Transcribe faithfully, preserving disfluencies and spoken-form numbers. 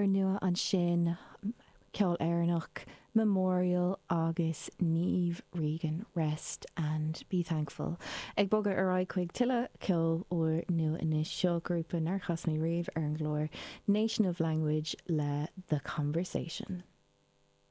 Úrnua ansin, ceol Éireannach, Memorial agus Niamh Regan, Rest and Be Thankful. Ag bogadh ar aghaidh chuig tuilleadh ceol úrnua anois seo grúpa nár chas mé riamh ar an gclár Nation of Language le The Conversation.